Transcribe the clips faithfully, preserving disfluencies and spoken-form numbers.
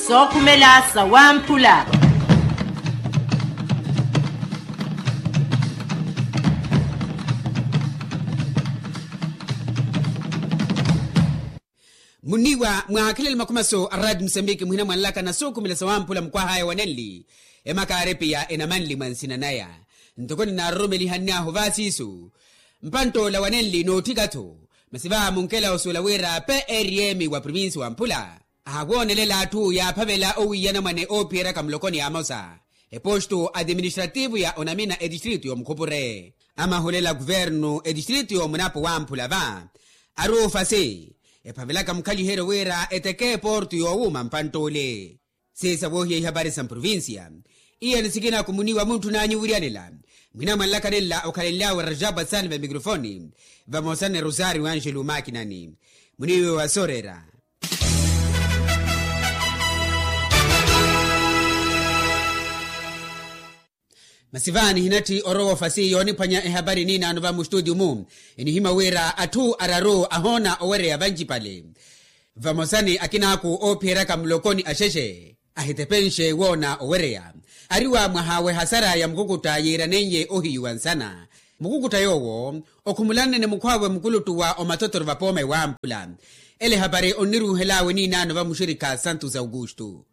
Sookhumela sawamphula. Muniiwa mwaakhelele makhumaso a raati musambiki muhina mwanlaka na sookhumela sawamphula mukwahaya wanenli. Emakaari piya enamanli mwa nsina naya ntoko ninaroromelihanny'ahu vaasiisu. Mpantt'ola wanenli nootthika-tho. Masi va munkela osuwela wira prm wa provincia wa mphula ahawoonelela atthu yaaphavela owiiyana mwane oophiyeryaka mulokoni amosa. Epostu atiministrativu ya onamina etistritu y'omukhupure amahulela kuvernu etistritu y'omunapo wamphula va ari ofasi ephavelaka mukhaliheryo wira eteke eportu yoowuuma mpantt'ule. Siisa woohiya ihapari sa mprovincia. Iyani sikina kumuniwa muntthun'anyu wiriyanela mwina mwanlaka nenla okhalenly'awe rajabu asani va mikrofoni vamosa ni rosario angelo makinani. Muniwe wa soorera. Masi va nihinatthi orowa ofasi yooniphwanya ehapari niinaano va mustutio-mu. Enihimya wira atthu araru ahoona owereya vancipale. Vamosa ni akinaaku oophiyeryaka mulokoni axexe ahitepenxe woona owereya. Ari wa mwaha w'ehasara ya mukukutta yiiraneiye ohiyuwa nsana. Mukukutta yoowo okhumulannene mukhw'awe mukuluttu wa omatotoro vapooma ewamphula. Ele ehapari onniruuhel'awe niinaano va muxirikha santos augusto.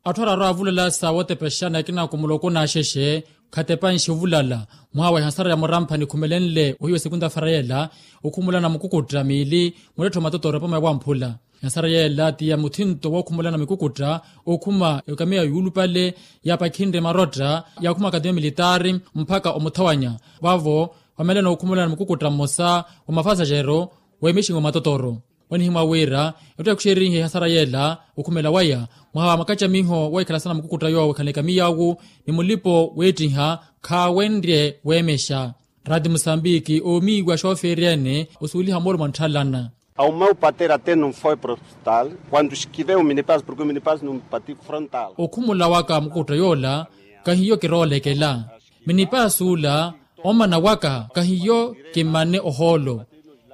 Atthu araru avulala sa wootepexana akinaaku muloko n'axexe khatepanxe ovulala. Mwaha wa ehasara ya muramphani khumelenle ohiwa esekunta fara yeela okhumulana mukukutta miili muletthe omatotoro apooma ewamphula. Ehasara yeela ti ya muthinto wookhumulana mikukutta okhuma ekamiya yuulupale yaapakhinre marotta yaakhuma akademia militaari mpakha omuthawanya. Vavo vamelana okhumulana mukukutta mmosa wa mafasaxero weemexinga omatotoro. Onihimwa wira etthu yaakhuxerihe ehasara yeela okhumela waya mwaha wa makacamiho weekhala sana mukukutta yoowo ekhala ekamiya awu ni mulipo weettiha khaawenrye weemexa. Raati musambiki oomiiwa xoofeeri ene osuuliha moolo mwa ntthalana. Ao meu patera até não foi para o hospital quando esquivei o minipass porque o minipass não patiu frontal. Okhumula waka mukukutta yoola kahiyo kiroolekela. Minipass ula omana waka kahiyo kimmane ohoolo.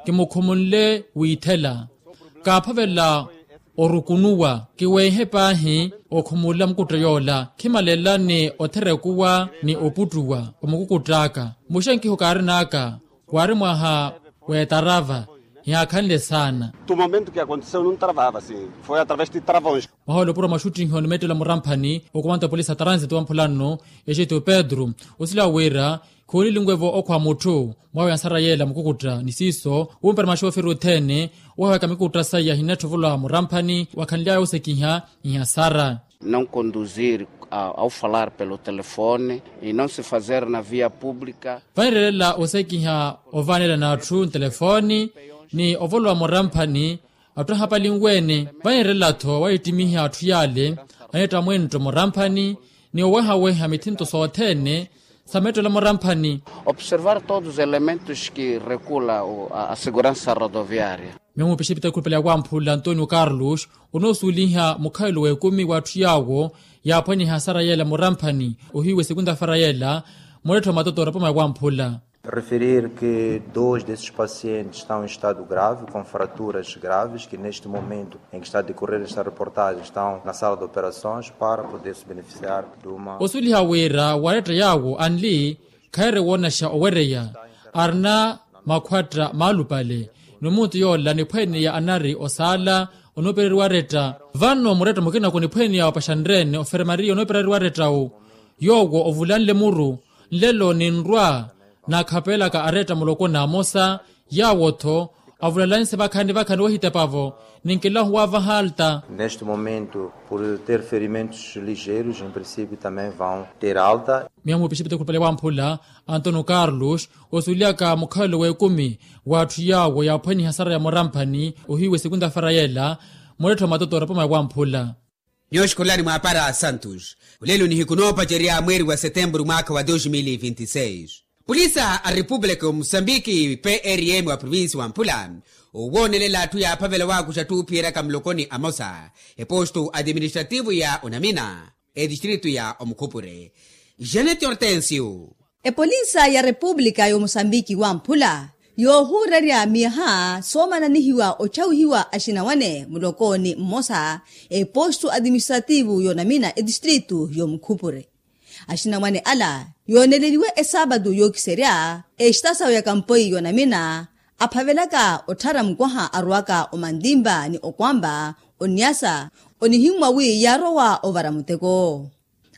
Kimukhumule wiithela kaaphavela orukunuwa kiweehe paahi. Okhumula mukutta yoola khimalelela ni otherekuwa ni oputtuwa omukukutt'aka. Muxenkiho kaarin'aka waari mwaha w'etarava yaakhanle saana. Tu momento ke aconteceu num travava sim foi através de travões. Mwaha olopuro mwaxuttihi onimettela muramphani okomanta polisi a transit wa mphulanno exeto pedro osila wira khoonilinguevo okhwa mutthu mwawe ansara yeela mukukutta ni siiso wumpera maxooferi othene. Wahewaka mikukutta saya hinatthi ovolowa muramphani wakhanly'aya osekiha nhasara. Não conduzir ao falar pelo telefone e não se fazer na via pública. Vanirelela osekiha ovanela n'atthu ntelefoni ni ovolowa muramphani. Atthu ahapalinwe-ene vanirelela-tho wahittimiha atthu yaale anitta mwentto muramphani ni owehaweha mithinto sothene sa mettelo muramphani. Observar todos os elementos que regula a segurança rodoviária. Miyo mupixipita ekhulupale ya wamphula antonio carlos onoosuweliha mukhalelo w'ekumi w'atthu yaawo yaaphwaniha asara yeela muramphani ohiiwe sekunta fara yeela. Mulettho matoto orapama ya wamphula. Referir que dois desses pacientes estão em estado grave com fraturas graves que neste momento em que está a decorrer esta reportagem estão na sala de operações para poder se beneficiar de uma. Osuliha wira waletta yaawo anli khaire woonaxa owereya arina makhwatta maalupale. Ni omuntu yoola niphwene ya anari osaala onoopereriwa aretta. Vano muretta mukina kuniphwene ya opaxanrene oferemariya onoopereriwa arettawo yoowo ovulanle muru nlelo ninrwa. Naakhapelaka aretta muloko n'amosa yaawo-tho avulalanse vakhani vakhani wahitepavo ninkilahu wavaha alta. Neste momento por ter ferimentos ligeiros em princípio também vão ter alta. Miyo mupixipita ekhulupale wamphula antonio carlos osulyaka mukhalelo w'ekumi w'atthu yaawo yaaphwaniha sara ya muramphani ohiiwe sekunta fara yeela. Mulettho matoto orapama ya wamphula. Nyooxi khulani mwaapara a santos olelo nihiku noopacerya mweeri wa setemburu mwaakha wa dos mil vinti seis. Pulisa a repupulika y'omusambiki prm wa provinsi wa mphula owoonelela atthu yaaphavela waakuxa atthu oophiyeryaka mulokoni amosa epostu atiministrativu ya onamina etistritu ya omukhupure. Janete hortensio. Epolisa ya repupulika y'omusambiki wa mphula Yoohuurerya miyaha soomananihiwa otthawihiwa axinawane mulokooni mmosa, epostu atiministrativu yoonamina etistritu y'omukhupure. Axinawane ala yooneleliwe esaapatu yookiserya, exitasawu ya kampoi yoonamina aphavelaka otthara mukwaha arwaka omantimpa ni okwampa, oniyasa onihimmwa wi yaarowa ovara muteko.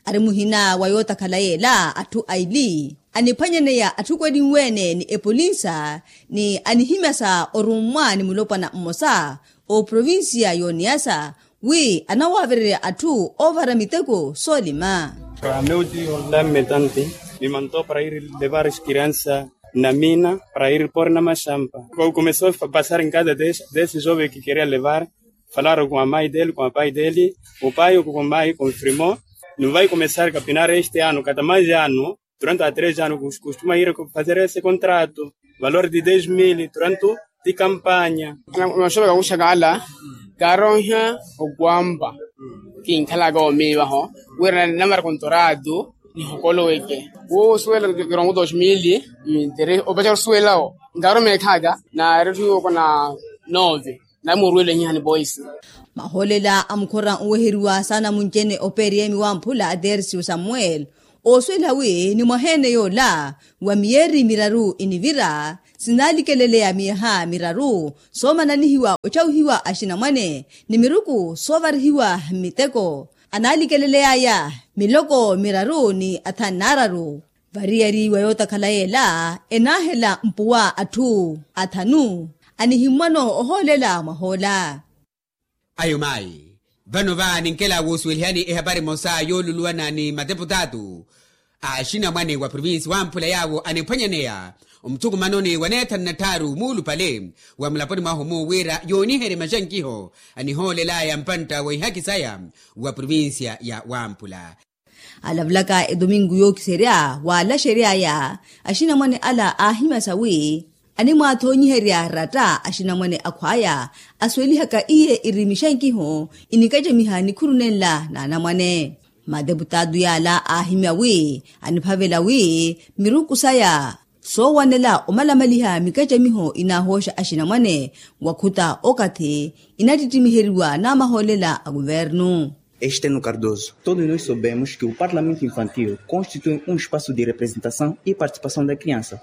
Ari muhina wa yootakhala yeela atthu aili aniphwanyaneya atthu kwelinwe-ene ni epolinsa, ni anihimyasa orummwa ni mulopwana mmosa oprovinsiya y'oniyasa wi anawaavererya atthu oovara miteko soolima. Para meu tio la metante me mantou para ir levar as crianças na mina para ir pôr na machampa. Começou a passar em casa desse jovem que queria levar. Falaram com a mãe dele, com a pai dele, o pai ou com a mãe confirmou. Não vai começar a capinar este ano, cada mais ano, durante a três anos costuma ir fazer esse contrato, valor de dez mil durante de campanha. Maxoveka kuxaka ala karoiha okwampa kinkhalaka omiivaho wira namara kontoratu nihokoloweke wosuwela kirongo dos mil. Opachaka osuwelawo nkaromekhaka naretthu yokona nove. Namuruwele nhihani poisi. Mahoolela a mukhora nweheriwa saana munci-ene opeeriyemi wamphula a tersiyo samuweli, oosuwela wi ni mwaha-ene yoola wa miyeeri miraru inivira sinalikeleleya miyaha miraru soomananihiwa otthawihiwa axinamwane ni miruku soovarihiwa mmiteko. Analikeleleyaya miloko miraru ni athanu naararu. Variyari wa yootakhala yeela enaahela mpuwa atthu athanu anihimmwano ohoolela mwahoola. Ayo mayi, vano va ninkela woosuwelihani ehapari emosa yooluluwana ni mateputaatu a axinamwane wa provinsi wamphula yaawo aniphwanyaneya omuthukumanoni wa neethanu na tthaaru muulupale wa mulaponi mwahu-mu wira yooniherye maxankiho anihoolelaya mpantta wa ihaki saya wa provinsiya ya wamphula. Alavulaka etominku yookiserya waalaxeryaya axinamwane ala aahimyasa wi animwaathoonyiherya ratta axinamwane akhwaya asuwelihaka iye iri mixankiho inikacamiha nikhuru nenla n'anamwane. Mateputaatu yaala aahimya wi aniphavela wi miruku saya soowanela omalamaliha mikacamiho inaahooxa axinamwane wakhuta okathi inattittimiheryiwa n'amahoolela a kuvernu. Este no cardoso todos nos soubemos que o parlamento infantil constitui um espaço de representação e participação da criança.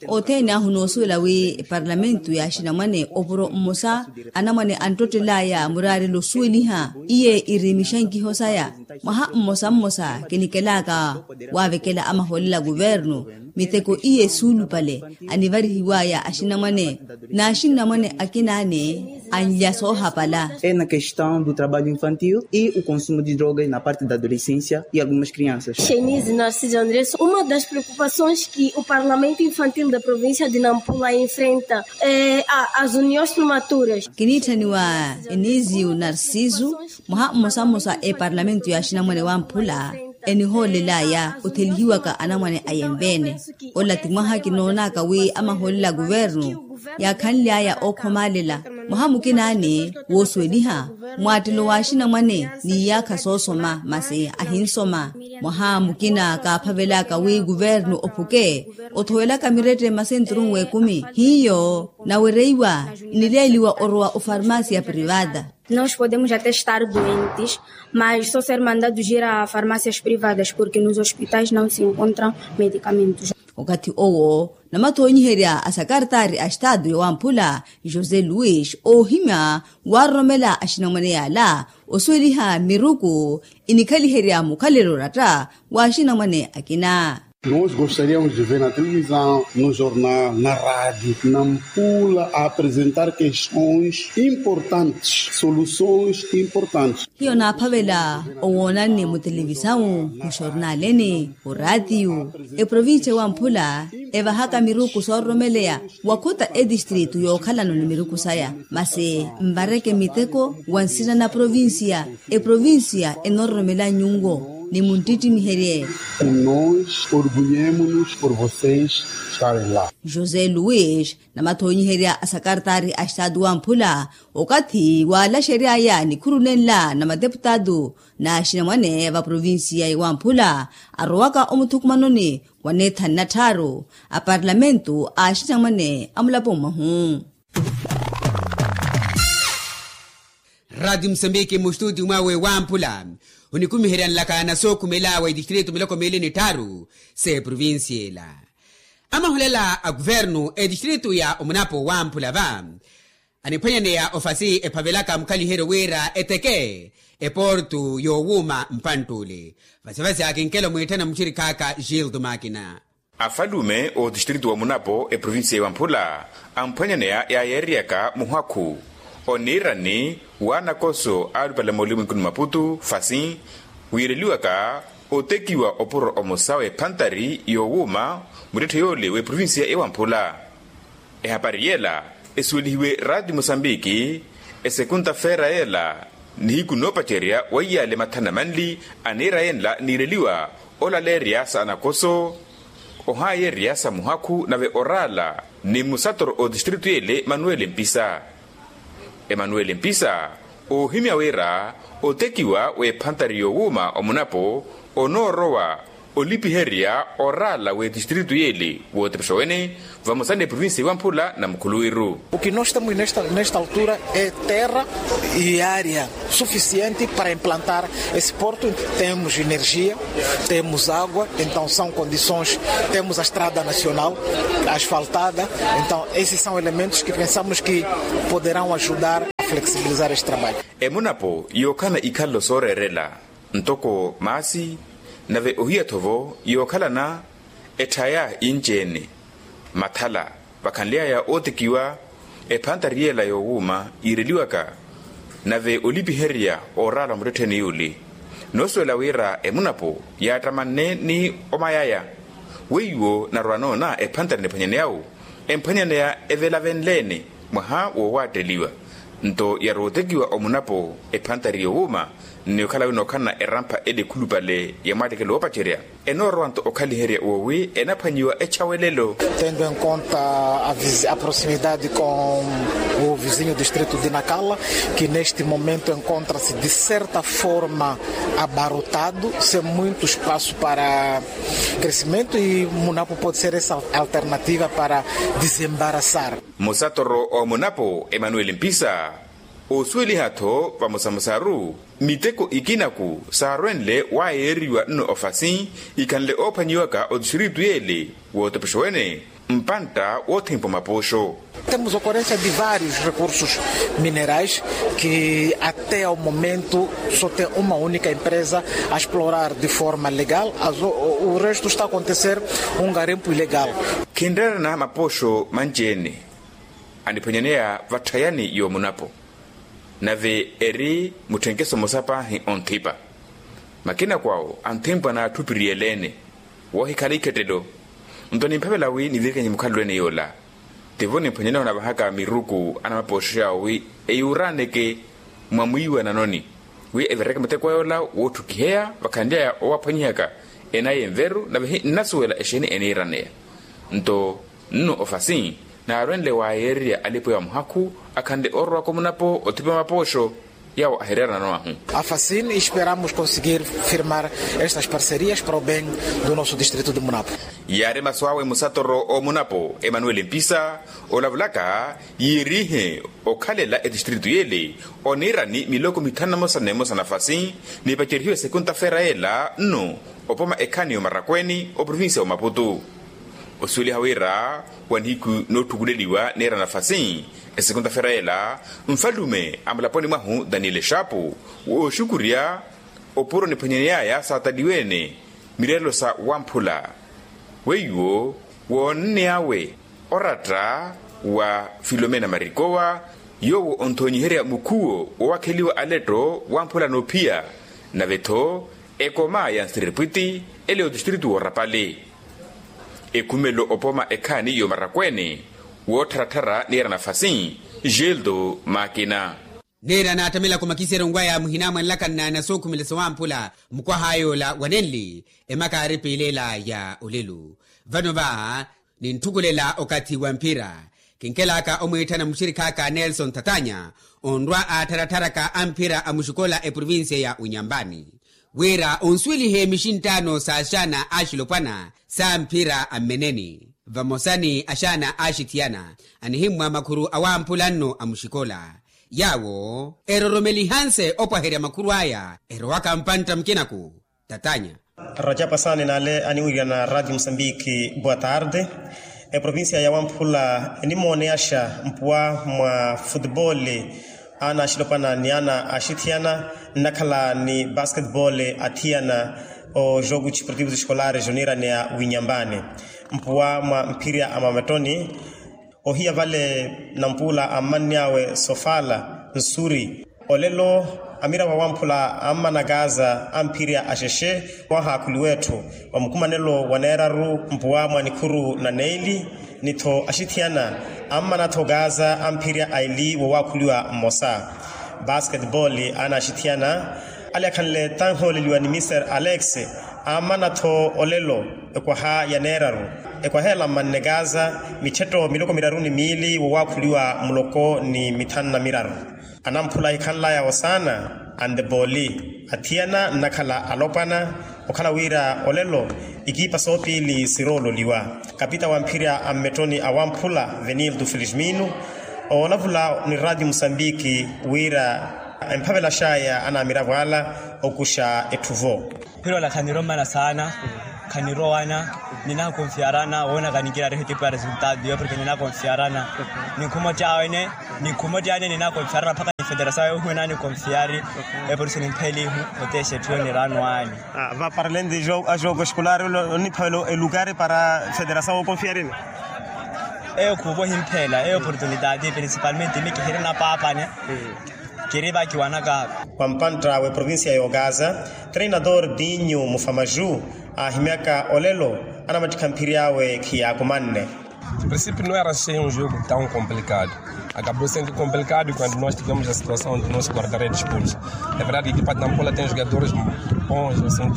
Othene ahu noosuwela wi eparlamentu ya axinamwane opuro mmosa anamwane anttottelaya muraarelo osuweliha iye iri mixankiho saya. Mwaha mmosa mmosa kinikelaka waavekela amahoolela a kuvernu miteko iye suulupale anivarihiwaya axinamwane n'axinamwane akinaane anlya soohapala. É na questão do trabalho infantil e o consumo de drogas na parte da adolescência e algumas crianças. Chenise narciso andres uma das preocupações que o parlamento infantil da província de nampula enfrenta é as uniões prematuras. Kiniitthaniwa enisiu narciso mwaha mmosa mmosa eparlamentu ya axinamwane wamphula enihoolelaya othelihiwaka anamwane a yenveene. Ola ti mwaha kinoonaka wi amahoolela a kuvernu yaakhanly'aya ookhomalela mwaha mukinaani woosuweliha mwaattelo wa axinamwane n'iyaakha soosoma masi ahinsoma. Mwaha mukina kaaphavelaka wi kuvernu ophuke othowelaka mirette masenturu n'wekumi hiyo nawereiwa inileeliwa orowa ofarmasi ya privata. Nós podemos até estar doentes mas só ser mandados ir a farmácias privadas porque nos hospitais não se encontram medicamentos. Okathi owo namathoonyiherya a sakartaari a estatu yowamphula josé luis oohimya waaroromela axinamwane yaala osuweliha miruku inikhaliherya mukhalelo oratta wa axinamwane akina. Nos gostaríamos de ver na televisão no jornal na rádio nampula a apresentar questões importantes soluções importantes. Hiyo naaphavela owoonanni mutelevisawu muxornaleni oraatiyu eprovincia wamphula evahaka miruku soororomeleya wakhuta etistritu yookhalano ni miruku saya masi nvareke miteko wa nsina na provincia eprovincia enororomela nyunwo. ni munttittimiherye. Nos orgulhemos-nos por vocês estarem lá. José luis, namathonyiherya a sakartari a estatu wamphula, okathi waalaxeryaya nikhuru nenla na mateputatu na axinamwane va provincia ya wamphula, arowaka omuthukumanoni wa neethani na tthaaru a parlamentu a axinamwane a mulapo mwahu. Rati musambiki mustutio mwawe wamphula, onikumiheryani laka na sookhumela wa itistritu miloko miili ni tthaaru se provincia ela. Amahulela a kuvernu etistritu ya omunapo wamphula va aniphwanyaneya ofasi ephavelaka mukhaliheryo wira eteke eportu yowuuma mpanttuli. Vasivasi akinkelo mwiitthana muxirikhaaka gildo makina. Afalume otistritu wa munapo eprovinsiya ya wamphula amphwanyaneya yaayeeryaka muhakhu oniirani wanakoso alupale molimwikuni maputu fasi wiireliwaka otekiwa opuro omosa w'ephantari yowuuma muttetthe yoole w'eprovinsiya ya wamphula. Ehapari yela esuwelihiwe rati mosambiki esekunta feera yela nihiku noopacerya weiyale mathana manli aniira yenla niireliwa olaleerya sa anakoso ohayeerya sa muhakhu nave oraala ni musatoro otistritu yele manuwele mpisa. Emanuweli mpisa oohimya wira otekiwa w'ephantari yowuuma omunapo onoorowa olipiherya oraala w'etistritu yeli wootepexa wene vamosa n'eprovinsiya ewamphula na mukhuluwiru. O que nós temos nesta altura é terra e área suficiente para implantar esse porto. Temos energia, temos água, então são condições. Temos a estrada nacional asfaltada. Então esses são elementos que pensamos que poderão ajudar a flexibilizar este trabalho. Emunapo yookhala ikhalelo sooreerela ntoko maasi nave ohiya-tho vo yookhalana etthaya inci-ene mathala vakhanly'aya ootekiwa ephantari yela yowuuma yiireliwaka nave olipiherya oraala muttettheni yuli. Noosuwela wira emunapo yaattamanne ni omayaya weiwo narwa noona ephantari niphwanyaneya-wo emphwanyaneya evelavenle-ene mwaha wowaatteliwa nto yarowa otekiwa omunapo ephantari yowuuma nni okhala winookhalana erampha ele ekhulupale ya mwaattekelo woopacerya. Enoorowa nto okhaliherya woowi enaphwanyiwa echawelelo. Tendo em conta a proximidade com o vizinho distrito de nacala, que neste momento encontra-se de certa forma abarrotado sem muito espaço para crescimento e munapo pode ser essa alternativa para desembaraçar. Musatoro omunapo emanueli mpisa oosuweliha-tho vamosamosaru miteko ikinaku saarwenle waayeeriwa nno ofasi ikhanle oophwanyiwaka otistiritu yeele wootopoxa wene mpantta woothempa omapoxo. Temos ocorrência de vários recursos minerais que até ao momento só tem uma única empresa a explorar de forma legal. O resto está a acontecer um garimpo ilegal. Khinreerana mapoxo manci-ene aniphwanyaneya vatthayani yoomunapo nave eri mutthenkeso mmosa paahi onthipa. Makinaku awo anthempwa n'atthupiriyele-ene woohikhala ikhettelo. Nto nimphavela wi nivirikenye mukhalelo-ene yoola tivo nimphwanyaneya onavahaka miruku anamapooxo yaawo wi eyuuraaneke mwa mwiiwananoni wi evireke muteko yoola wootthukiheya vakhanly'aya owaphwanyihaka enaya enveru nave hi nnasuwela exeeni eniiraneya. Nto nno ofasi naarwenle waayeererya alipo ya muhakhu akhanle oorowaka omunapo othipa mapooxo yaawo ahireerana nowahu. Afasin esperamos conseguir firmar estas parcerias para o bem do nosso distrito de munapo. Yaari masu awe musatoro omunapo emanueli mpisa olavulaka yiirihe okhalela etistritu yeele oniirani miloko mithanu na mosa na emosa nafasi nipacerihiwe sekunta feera yeela nno opoma ekhaani y'omarakweeni oprovinsiya wa maputu. Osuweliha wira wa nihiku nootthukuleliwa niira nafasi esekunta feera yeela nfalume a mulaponi mwahu daniele xaapu wooxukurya opuro niphwanyaney'aya saataliwe-ene mireerelo sa wamphula weiwo woonneyawe oratta wa filomena marikowa yoowo onthonyiherya mukhuwo woowakheliwa aletto wamphula noophiya nave-tho ekoma ya nsiripwiti ele otistritu w'orapali ekhumelo opoma ekhaani y'omarakweene woottharattharya niira nafasi geldo makina. Neera naattamela kumakiseryo nkwaya muhina mwanlaka nnaana sookhumela sowamphula mukwaha yoola wanenli emaka aaripiilela ya olelu. Vano va nintthukulela okathi wa mphira, kinkelaka omwiitthana muxirikhaaka nelson thatanya onrwa aattharattharaka a mphira a muxikola eprovincia ya unyambani wira onsuwelihe mixinttaano s'axaana axilopwana sa mphira a mmeneni vamosa ni axaana axithiyana anihimmwa makhuru awamphula nno a muxikola. Yaawo eroromelihanse opwaherya makhuru aya erowaka mpantta mukinaku. Tatanya. Rajapa sani nale aniwirya na radio musambiki boa tarde. Eprovincia ya wamphula enimooneyaxa mpuwa mwa futebole ana axilopana ni ana axithiyana nnakhala ni basketbole athiyana o jogo desportivo escolar junior ni a winyambani mpuwa mwa mphirya a mamettoni. Ohiya vale nampuula ammanny'awe sofala nsuri. Olelo amiravo awamphula ammanakaaza amphirya axexe wahaakhuliwa etthu wa mukumanelo wa neeraru mpuwa mwa nikhuru na neeli ni-tho axithiyana ammana-tho kaaza amphirya aili wowaakhuliwa mmosa. Basketball ana axithiyana ale akhanle tanhooleliwa ni mister alex ammana-tho olelo ekwaha ya neeraru ekwaha ela mmanne kaaza mithetto miloko miraru ni miili wowaakhuliwa muloko ni mithanu na miraru. Anamphula ahikhanlaya osaana antepooli athiyana nnakhala alopwana okhala wira olelo ikiipa soopiili siroololiwa. Kapita wa mphirya a mmettoni awamphula venilto felismino oolavula ni radio musambiki wira emphavelaxaya anamiravo ala okuxa etthu-vo. Phirola khanirommana saana khanirowana ninakonfiyarana woona kaninkira rehe tipu ya resultado yo porke ninakonfiyarana. Ninkhumottya wene ninkhumottya ane ninakonfiyarana mpakha nifederasawo yohiwe nanikonfiyari. Eporisi nimphelihu otexa etthu yo niraano ane. Vaparalenti a jogo escolar oniphavela elukari para federasawo okonfiyarina. Eyo khuuva ohimphela eyo oportunitati principalmente mikihiri napaapane. Kiri vakiwanaka. Wa mpantta w'eprovincia y'okaza treinador dinho mufamaju aahimyaka olelo anamattikha mphiri awe khiyaakumanne. Princípio no era ser um jogo tão complicado. Acabou sendo complicado quando nós tivemos a situação do nosso guarda-redes expulso. É verdade que equipa de Nampula tem jogadores bons assim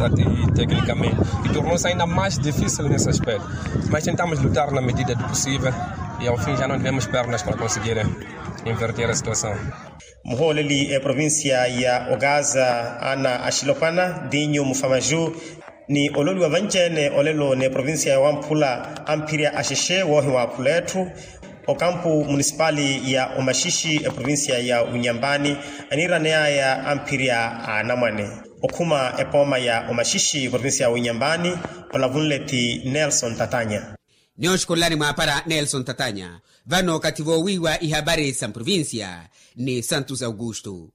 tecnicamente e tornou-se ainda mais difícil nesse aspecto. Mas tentamos lutar na medida do possível e ao fim já não tivemos pernas para conseguir inverter a situação. Muhooleli eprovincia ya okaza ana axilopwana dinho mufamaju ni ololiwa vanci-ene olelo n'eprovincia ya wamphula amphirya axexe woohiwaaphula etthu okampu munisipali ya omaxixi eprovincia ya unyambani aniiraneyaya amphirya a anamwane okhuma epooma ya omaxixi eprovincia ya unyambani. Olavunle ti nelson tatanya. Ni oxukululani mwaapara nelson tatanya. Vano okathi voowiiwa ihapari sa mprovincia ni santos augusto.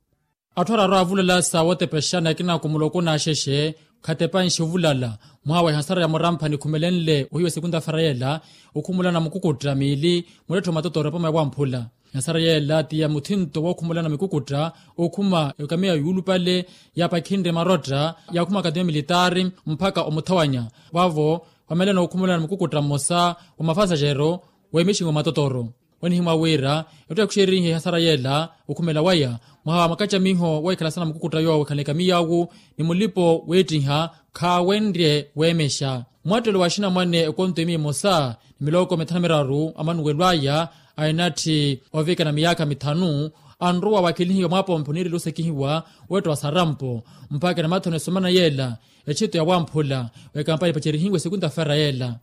Atthu araru aavulala sa wotepexana ekina kumuloko n'axexe khatepanxe ovulala mwaha wa ehasara ya murampha nikhumelenle ohiwa esekunta fera yeela okhumulana mukukutta miili mulettho matotoro epoma ya wamphula. Ehasara yeela ti ya muthinto wookhumulana mikukutta okhuma ekamiya yuulupale yaapakhinre marotta yaakhuma akademia militaari mpakha omuthawanya. Vavo vamelana okhumulana mukukutta mmosa wa mafasaxero w'emixingo matotoro. Onihimwa wira etthu yaakhuxerihe ehasara yeela okhumela waya mwaha wa makacamiho weekhala sana mukukutta yoowo ekhala ekamiya awu ni mulipo weettiha khaawenrye weemexa. Mwattelo wa axinamwane ekonto emiya emosa ni miloko mithanu miraru amanuwelo aya a enatthi ovikana miyaakha mithanu anrowa waakelihiwa mwaapompho niireliwa osekihiwa wetta wa sarampo mpakha enamathano esomana yeela etthito ya wamphula w'ekampani epacerihiwe esekunta fera yeela.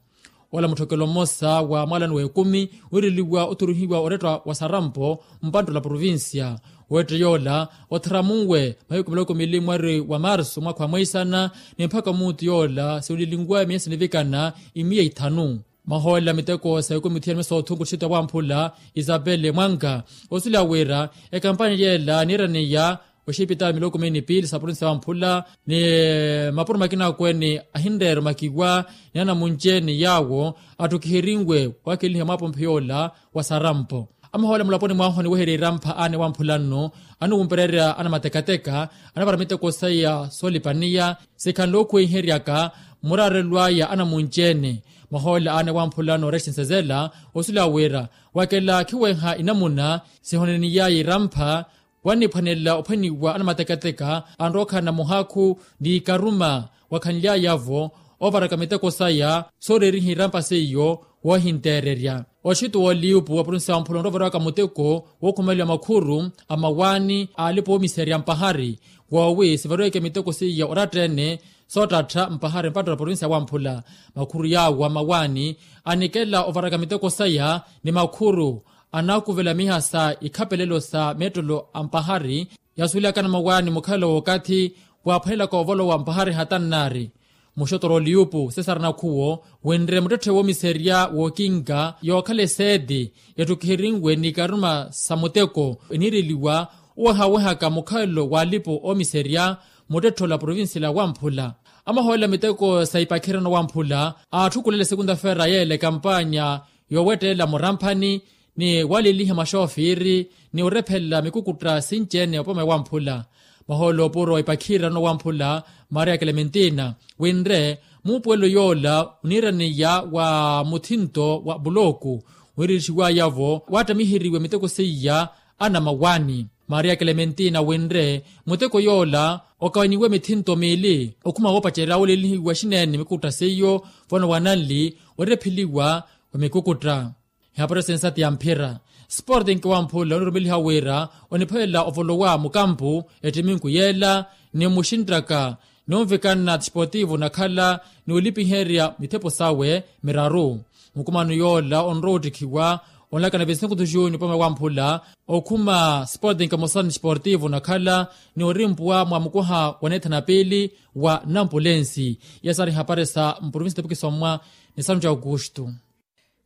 Ola mutthokelo mmosa wa mwalani w'ekumi wiireliwa othuruhiwa oretta wa sarampo mpanttula provincia. Wetta yoola otharamunwe mahiku miloko miili mwari wa marsu mwaakha wa mweisana ni mpakha omuutu yoola siwulilinwa miya sinivikana imiya ithanu. Mahoolela miteko sa ekumi thiyani mesothunku tthito ya wamphula isapele mwanka osuleya wira ekampani yeela niiraneya oxipitali miloko mini piili sa provincia ya wamphula ni mapuro makina akweene ahinreera omakiwa ni anamunci-ene yaawo atthukiherinwe waakelihiwa mwaapompho yoola wa sarampo. Amahoolela mulaponi mwaahu aniweherya irampha aana ewamphula nno aniwumpererya anamatekateka anapara miteko saya soolipaniya sikhanle ookhuweiheryaka muraarelo aya anamunci-ene. Mahoolela aana ewamphula nno rexensezela osuleya wira wakela khiweha inamuna sihoneniyaya irampha Wanniphwanela ophwaniwa anamatekateka anrowa okhala na muhakhu n'ikaruma wakhanly'aya-vo oovaraka miteko saya sooreeriha irampa seiyo woohinteererya. Oxituwa oliupu wa provincia wa mphula onrowa ovariwaka muteko wookhumeliwa makhuru a mawaani aalipa oomiserya mpahari woowi sivariweke miteko seiya oratta-ene soottattha mpahari mpatto na provincia wa mphula. Makhuru yaawa mawaani anikela ovaraka miteko saya ni makhuru anaakuvela miha sa ikhapelelo sa meettolo a mpahari yasuwelaka na mawaani mukhalelo w'okathi waaphwanelaka ovolowa mpahari hatannaari. Muxotora oliyupu sesara nakhuwo wenre muttetthe woomiserya wookinka yookhala eseeti yattukihirinwe n'ikaruma sa muteko eniireliwa owehawehaka mukhalelo w'alipo oomiserya muttetthe ola provincia la wamphula. Amahoolela miteko sa ipakhirano wamphula aatthukulela esekunta-feera yeela ekampanya yoowettelela muramphani ni waliliha maxoofiri ni orephelela mikukutta sinci-ene opome wamphula. Mahoolo oopuro wa ipakhirano wamphula maria klementina winre muupuwelo yoola oniiraneya wa muthinto wa pulooku wiirixiwaya-vo waattamiheriwe miteko seiya anamawaani. Maria klementina winre muteko yoola okawaniwe mithinto miili okhuma woopacerya woolelihiwa xineene mikukutta seiyo vano wananli orepheliwa wa mikukutta. Ihapari sensati ya mphira sporting wamphula onirumeliha wira onipholela ovolowa mukampu ettiminku yeela ni muxinttaka ni onvikana tisportivo nakhala ni olipiherya mithepo sawe miraru. Mukumano yoola onrowa ottikhiwa onlakana vesinkuthu juni opome wamphula okhuma sporting emosa ni sportivo nakhala ni orimpuwa mwa mukuha wa neethana piili wa nampulensi. Iya saari ihapari sa mprovinsi tepukisomwa ni santu ja aukustu.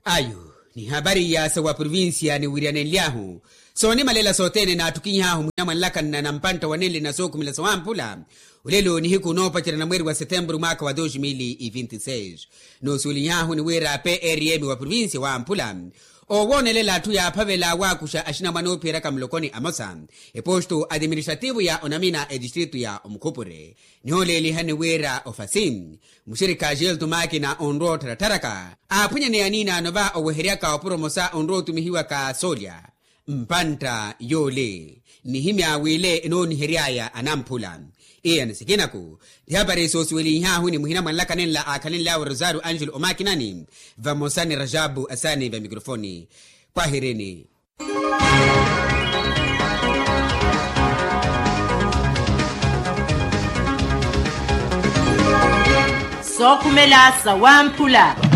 Ayu ni hapari iya sa wa provincia niwiriyanenly'ahu soonimalela sothene naattukiny'ahu muhina mwanlakanna na mpantta wanenle na sookhumela sa wamphula. Olelo nihiku noopacerya na mweeri wa setemburu mwaakha wa dos mil e vinti seis noosuweliny'ahu ni wira prm wa provincia wamphula oowoonelela atthu yaaphavela waakuxa axinamwane oophiyeraka mulokoni amosa eposto administrativo ya onamina etistritu ya omukhupure. Nihooleelihani wira ofasi muxirikha axilto maakina onrowa ottharattharaka aaphwanyaneya aniinaano va oweheryaka opuro mosa onrowa otumihiwaka soolya mpantta yoole. Nihimya w'ile enoonihery'aya anamphula iya ni sikinaku. Ti hapari soosiweliny'ahu ni muhina mwanlaka nenla aakhalenly'awe rosario angelo omakinani vamosa ni rajabu asani va mikrofoni. Kwahirini. Sookhumela sa wamphula.